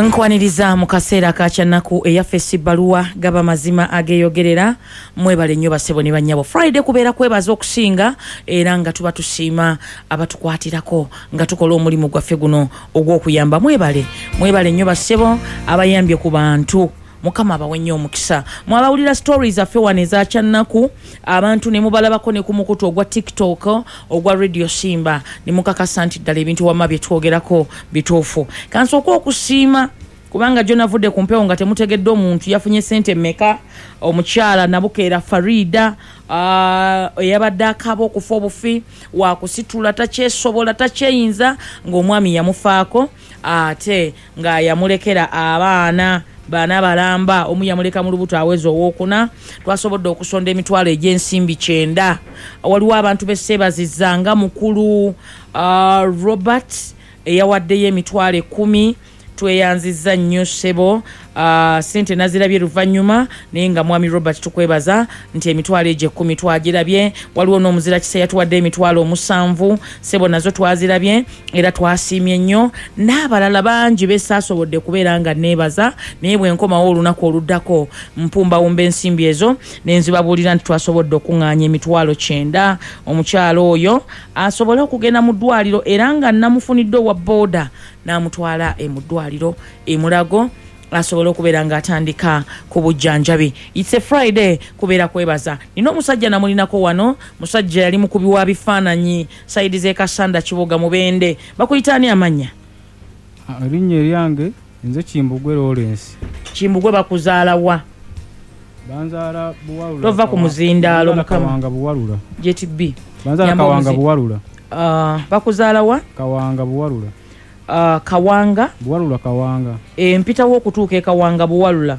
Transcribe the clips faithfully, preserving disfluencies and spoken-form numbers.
Nkwaniriza mu kaseera ka kyannaku eyaffe si bbaluwa, gaba mazima ageeyogerera. Mwebale nnyo bassebo ne bannyabo. Friday kubeera kwebaza okusinga, era nga tuba tusiima abatukwatirako nga tukola omulimu gwaffe guno ogw'okuyamba. Mwebale, mwebale nnyo bassebo abayambye ku bantu. Mukama abawe nnyo omukisa. Mwabawulira stories zaffe wano eza kyannaku, abantu ne mubalabako ne ku mukutu ogwa TikTok ogwa Radio Simba, ne mukakasa nti ddala ebintu wamma bye twogerako bituufu. Kansooke okusiima kubanga jo navudde ku mpewo nga temutegedde omuntu yafunye ssente mmeka. Omukyala Nabukeera Farida eyabadde akaaba okufa obufi, wakusitula takyesobola takyeyinza, ng'omwami yamufaako ate nga yamulekera abaana bana balamba, omu yamuleka mu lubuto aweza owookuna. Twasobodde okusonda emitwalo egy'ensimbi kyenda. Waliwo abantu besseebazizza nga mukulu uh, Robert eyawaddeyo emitwalo ekkumi. Tweyanzizza nnyo ssebo. Uh, ssente nazirabye luvannyuma, naye nga mwami Robert tukwebaza nti emitwalo egyo ekkumi twagirabye. Waliwo n'omuzira kisa yatuwadde emitwalo omusanvu, ssebo nazo twazirabye era twasiimye nnyo. N'abalala bangi besaasobodde kubeera nga neebaza, naye bwe nkomawo olunaku oluddako mpumbawumba ensimbi ezo ne nzibabuulira nti twasobodde okuŋŋaanya emitwalo kyenda, omukyalo oyo asobole okugenda mu ddwaliro, era nga namufunidde owa booda n'amutwala mu ddwaliro e Mulago asobole okubeera ng'atandika ku bujjanjabi. It's a Friday, kubeera kwebaza. Nina omusajja namulinako wano, musajja yali mukubi wa bifaananyi sayidi z'e Kassanda Kiboga Mubende. Bakuyita ani amannya? Erinnya eryange nze Kimbugwe Lawrence. Kimbugwe bakuzaala wa? Banzaala Buwalula. Tova ku muzindaalo Mukama. Kawanga Buwalula. J T B. Banzaala Kawanga Buwalula. Uh, bakuzaala wa? Kawanga Buwalula. Uh, Kawanga Buwalula Kawanga. E, mpitawo okutuuka e Kawanga Buwalula.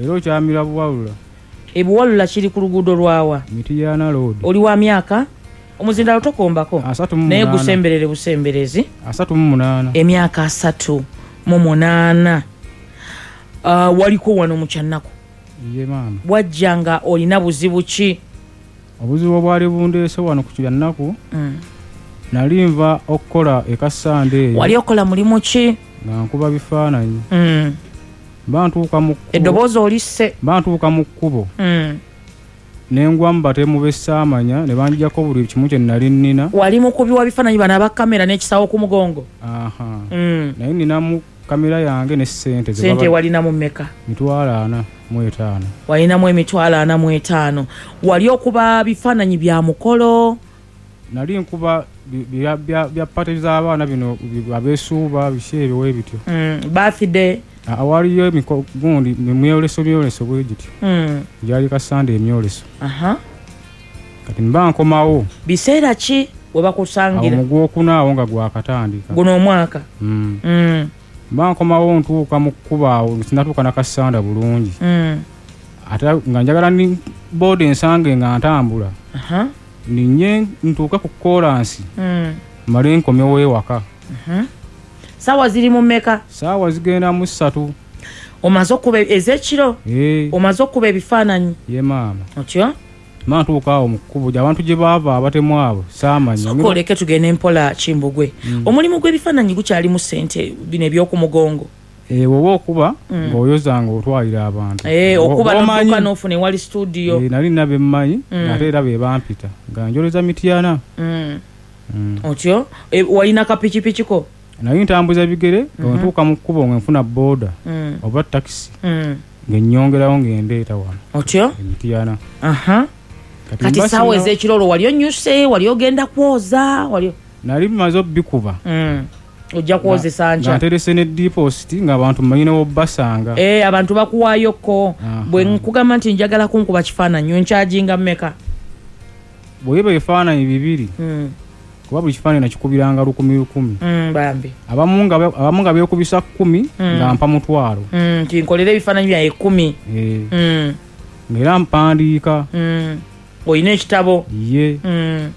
Era okyamira Buwalula. E Buwalula kiri ku luguudo lwawa? Mitiyana Road. Oli wa myaka? Omuzindalo tokombako. Naye gusemberere busemberezi. Asatu mu munaana. Emyaka asatu mu munaana. Uh, waliko wano mu kyannaku. Ye maama. Wajja nga olina buzibu ki? Obuzibu obwali bundeese wano ku kyannaku. Mm. Nali nva okukola e Kassanda eyo. Wali okola mulimu ki? Nga nkuba bifaananyi. Mm. Mba ntuuka mu kkubo. Eddoboozi olisse. Mba ntuuka mu kkubo. Mm. Ne ngwa mu batemu be ssaamanya ne banjjako buli kimu kye nali nnina. Wali mukubi wa bifaananyi bano aba kamera n'ekisawo ku mugongo? Aha. Mm. Naye nninamu kamera yange ne ssente. Ssente walinamu mmeka? Mitwalo ana mu etaano. Walinamu emitwalo ana mu etaano. Wali okuba bifaananyi bya mukolo? Nali nkuba bya bya bya party z'abaana bino abeesuuba biki ebyo we bityo. Mm, birthday. Awaliyo emiko gundi emyoleso myoleso bwe gityo. Mm. Gyali Kassanda emyoleso. Aha. Kati mba nkomawo. Biseera ki we bakusangira? Awo mu gwokuna awo nga gwakatandika. Guno omwaka? Mm. Mm. Mba nkomawo ntuuka mu kkubo awo sinatuuka na Kassanda bulungi. Mm. Ate nga njagala ni booda ensange nga ntambula. Aha. Ninye ntuuka ku koolansi. Mm. Mmale nkomewo ewaka. Mhm. Saawa ziri mu mmeka? Saawa zigenda mu ssatu. Omaze okuba ez'ekiro? Eh. Omaze okuba ebifaananyi? Ye maama. Otyo? Mba ntuuka awo mu kkubo abantu gye baava abatemu abo saamanya. Sooka oleke tugende mpola Kimbugwe. Mm. Omulimu gw'ebifaananyi gukyalimu ssente bino eby'oku mugongo? Eh, woba okuba mm. ng'oyoza ng'otwalira abantu. Eh, okuba n'otuuka n'ofuna ewali studio. Eh, nali nina be mmanyi mm. ate era be bampita nga njoleza Mityana. Mm. Mm. Otyo? E, walina kapikipiki ko? Nali ntambuza bigere nga mm -hmm. ntuuka mu kkubo nga nfuna booda mm. oba takisi mm. ng'ennyongerawo ng'endeeta wano. Otyo? E Mityana. Aha. Kati, Kati saawa ez'ekiro olwo wali onyuse, wali ogenda kwoza, wali nali mmaze obbikuba. Mm. Ojja kwozesa nkya. Nga nterese ne deposit ng'abantu mmanyi ne w'obbasanga. Eh, abantu bakuwaayoko. Bwe nkugamba nti njagala kunkuba kifaananyi, onkyajinga mmeka? Bwe biba ebifaananyi bibiri. Mm. Kuba buli kifaananyi nakikubiranga lukumi lukumi. Mm, bambi. Abamu nga abamu nga beekubisa kkumi mm. nga mpa mutwalo. Mm, nti nkolera ebifaananyi byange kkumi. Eh. Mm. Ng'era mpandiika. Mm. Olina ekitabo? Ye. Mm.